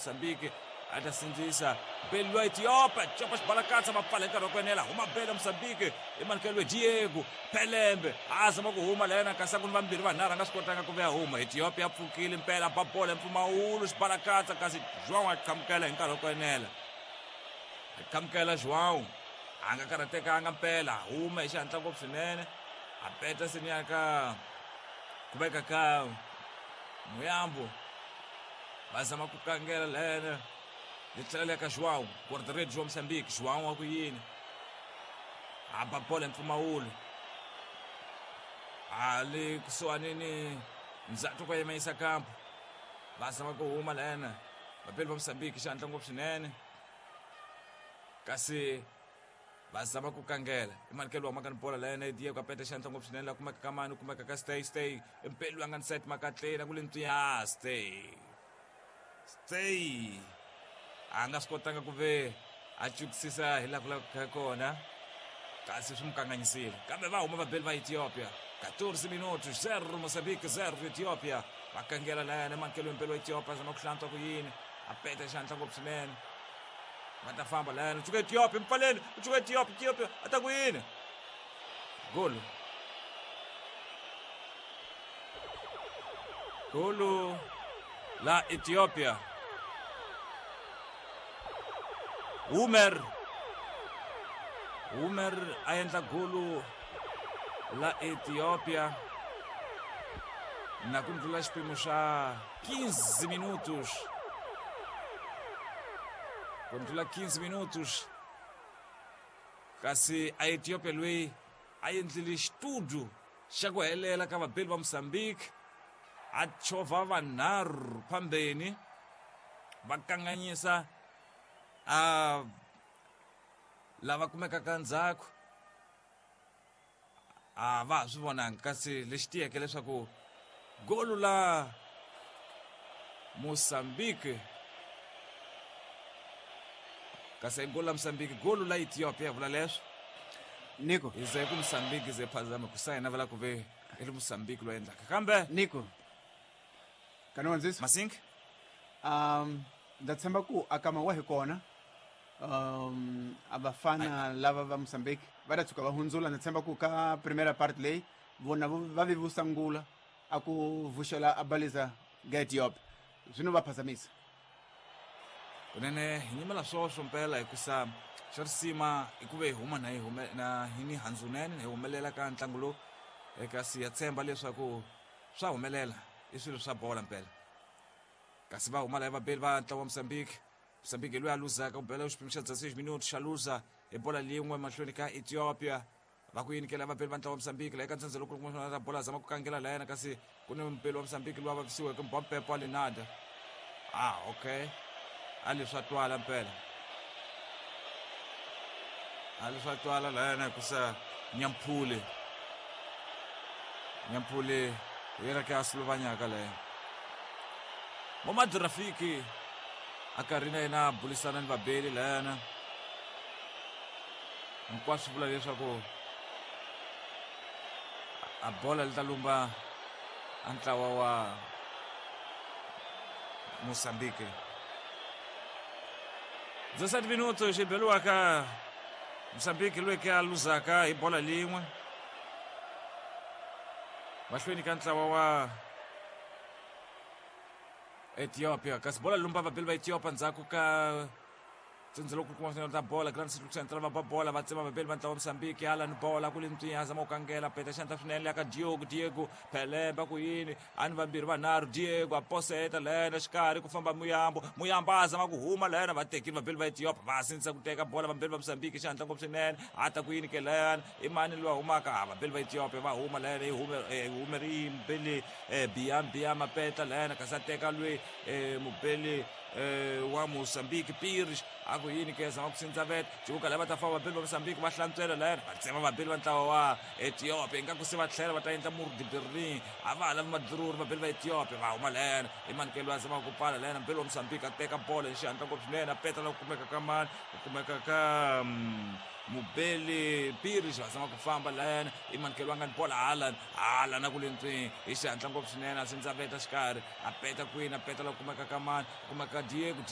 Mozambique a ta sindzisa beli lwa Ethiopia copa xibalakatsa va pfala hi nkarhi wa ku enela huma bela Mozambique i manikelo Diego Pelembe a zama ku huma la yena kasi a ku ni vambirhi vanharhu a nga swi kotanga ku vuya huma. Ethiopia pfukile mpela ba bolo ya mpfumawulo xibalakatsa kasi João a qhamukela hi nkarhi wa ku enela. A qhamukela João a nga karhatekanga mpela huma hi xihatla ngopfu swinene a peta seniya ka kumeka ka Muyambo va zama ku kangela lena yi tlhela le ka João guarda-redes wa Mozambique. João wa ku yini a ba bolo ya mpfumawulo a le kusuhani ni ndzhaku ko yima kampo va zama ku huma lena vapeli va Mozambique xihatla ngopfu swinene kasi va zama ku kangela i manikelo wa makani bola la yena Diego a peta xandla ngopfu swinene la kumeka ka mani kumeka ka stay stay mpeli loyi a nga ni set makatleni a ku le ntwiya stay stay a nga swi kotanga ku ve a cukisisa hi laha ku lavekaka kona kasi swi n'wi kanganyisile kambe va huma vabeli va Ethiopia. 14 minutos 0 Mozambique 0 Ethiopia. Va kangela la yena mankelo mpeli wa Ethiopia zama ku hlantswa ku yini a peta xandla ngopfu swinene va ta famba la yena u cuka Ethiopia mpfaleni u cuka Ethiopia Ethiopia a ta ku yini golo golo la Ethiopia. Umer Umer a endla golo la Ethiopia na ku ndlula xipimo xa 15 minutos ku ndlula 15 minutos kasi a Ethiopia loyi a endlile xitudu xa ku helela ka vabeli va Mozambique a chovha vanharhu phambeni va kanganyisa a lava kumekaka ndzhaku a va ha swi vonanga kasi lexi tiyeke leswaku golu la Mozambique kasi golu la Mozambique golu la Ethiopia vula leswo Nico hi ze ku Mozambique ze phazama ku sayina vula ku ve i ri Mozambique loyi endlaka kambe Nico kana wandzisa Masink Ndza tshemba ku akama wa hi kona a vafana lava va Mozambique va ta tshuka va hundzula. Ndza tshemba ku ka primera part leyi vona va vi vusangula a ku vuxela a baliza ga Ethiopia zwino va phazamisa kunene hi nyimela swoswo mpela hikusa xa risima i ku ve hi huma na hi hume na hi ni handzunene hi humelela ka ntlangu lowu kasi ya tshemba leswaku swa humelela i swilo swa bola mpela kasi va huma la vabeli va ntlawa wa Mozambique. Mozambique loyi a luzaka ku bela xiphemu xa 16 minuti xa luza hi bola lin'we mahlweni ka Ethiopia va ku yinikela vabeli va ntlawa wa Mozambique la eka ntsandza loko ra bola zama ku kangela la yena kasi ku ni mupeli wa Mozambique loyi a vavisiweke Mbompepo wa Lenada. Ah okay a leswi swa twala mpela a leswi swa twala la yena hikusa Nyamphule Nyamphule hi yena ke a suluvanyaka la yena Momad Rafiki a karhi na yena a bulisana ni vabeli la yena hinkwaswo swi vula leswaku a bola li ta lumba a ntlawa wa Mozambique. 17 minuto xi beliwaka Mozambique loyi ke a luzaka hi bola lin'we mahlweni ka ntlawa wa Ethiopia kasi bola lumba vabeli va Ethiopia ndzhaku ka tsundzu loko kuma swinene ta bola Grand City Central va ba bola va tsema vabeli va ntlawa Mozambique Alan bola ku le ntswinya a zama ku kangela peta xandla swinene ya ka Diogo Diego Pelemba ku yini a ni vambirhi vanharhu Diego a poseta lena xikarhi ku famba Muyambo Muyambo a zama ku huma lena va tekile vabeli va Ethiopia va sindzisa ku teka bola vambirhi va Mozambique xihatla ngopfu swinene a ta ku yini ke leyana i mani loyi a humaka a vabeli va Ethiopia va huma lena yi hume hume ri mubeli Biam Biam a peta lena kasi a teka loyi mubeli wa Mozambique Pires a ku yini ke zama ku sindza vet cuka lava ta famba vabeli va Mozambique va hlantswela lena va tsema vabeli va ntlawa wa Ethiopia ingaku se va tlhela va ta endla murdi Berlin a va ha lavi madururi vabeli va Ethiopia va huma lena i manikelo a zamaka ku pfala lena mubeli wa Mozambique a teka bolo hi xihatla ngopfu swinene a peta la ku kumeka ka mani ku kumeka ka mubeli Pires va zama ku famba lena i manikelo a nga ni bola hala hala na ku le ntswini hi xihatla ngopfu swinene a sindza veta xikarhi a peta kwini a peta la ku kumeka ka mani ku kumeka ka Diego.